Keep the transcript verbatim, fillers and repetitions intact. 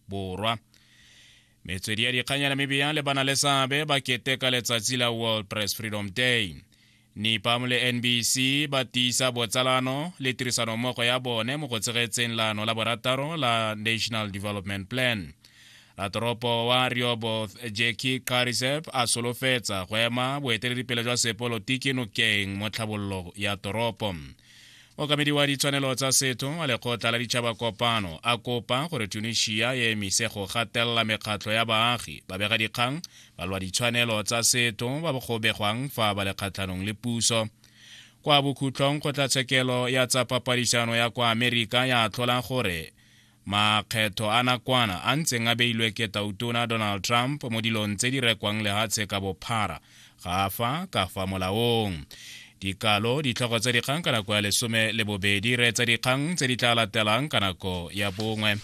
Borwa. Metswedi ya dikgang ya Namibia le bana le seabe ba keteka letsatsi la World Press Freedom Day. Nipam le N B C ba tiisa botsalano le tirisanommogo ya bone mo go tshegetseng leano la borataro la National Development Plan. Ratoropo wa Rehoboth Jackie Kariseb a solofetsa go ema boeteledipele jwa sepolotiki nokeng mo tlhabololo ya toropo. Mookamedi wa ditshwanelo tsa setho wa Lekgotla la Ditšhaba Kopano a kopa gore Tunisia e emise go gatelela mekgatlho ya baagi, babegadikgang, balwa ditshwanelo tsa setho ba go begwang fa ba le kgatlhanong le puso. Kwa bokhutlong, kgotlatshekelo ya tsa papadisano ya kwa Amerika ya atlhola gore makgetho a nakwana a ntseng a beilwe ke Tautona Donald Trump mo dilong tse di rekwang lehatshe ka bophara ga fa ka fa molaong. Dikalo ditlhogo tsa dikgang ka nako ya lesome le bobedi. Re tsa dikgang tse di tla latelang ka nako ya bongwe.